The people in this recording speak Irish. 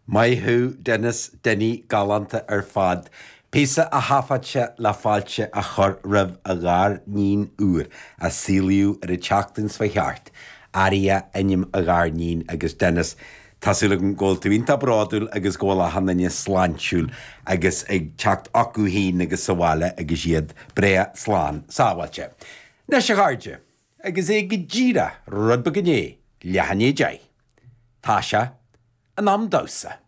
Maith thú Denis, Dinny, galánta ar fad. Píosa a thaifead sé le fáilte a chur roimh a ghariníon úr a saolaíodh ar an tseachtain seo thart. Aria ainm a ghariníon agus Denis, tá súil agam go bhfuil tú iontach bródúil agus go bhfuil achan duine sláintiúil agus ag teacht chucu féin agus sa bhaile agus iad breá slán sábháilte. Anois a chairde, agus é go díreach rud beag i ndiaidh leath i ndiaidh a deich. Tá sé in am damhsa.